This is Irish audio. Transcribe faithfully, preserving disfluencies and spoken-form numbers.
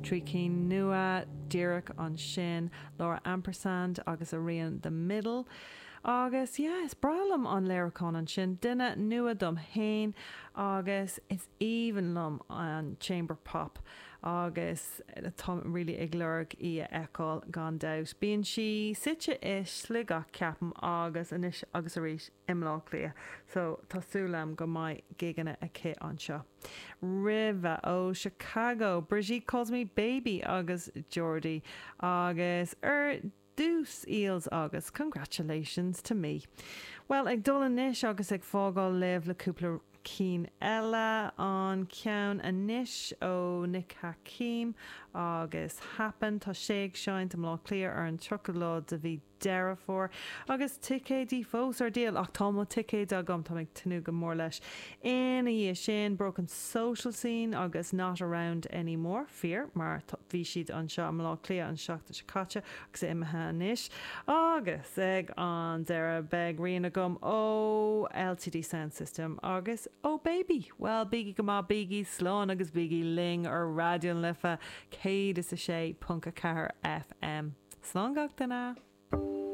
Trí cinn nua díreach ansin Laura Ampersand agus a rian The Middle. Agus yeah, is breá liom an léiriúchán ansin duine nua dom féin agus is aoibhinn liom an chamber pop agus tá really ag lorg í a fheiceáil gan dabht. Bíonn sí suite i Sligeach ceapaim agus anois agus arís i mBleá Cliath, so tá súil agam go mbeidh gigeanna aici anseo. Roimhe ó Chicago, Brigitte calls me baby agus Jordi agus ar dtús Eels agus congratulations to me. Well ag dul anois agus ag fágáil libh le cúpla cinn eile an ceann anois ó Nick Hakim agus Happen tá sé ag seinnt i mBleá Cliath ar an tríochadú lá de mhí Deireadh Fómhair agus ticéidí fós ar díol ach tá mo ticéid agam tá ag tnúth go mór leis. Ina dhiaidh sin Broken Social Scene agus Not Around Anymore fíor mar bhí siad anseo i mBleá Cliath an seachtain seo caite agus imithe anois agus ag an deireadh beidh rian agam ó LTD Sound System agus ó Baby. Well bígí go maith bígí slán agus bígí linn ar Raidió na Life céad is a sé ponc a ceathair FM. Slán gach duine.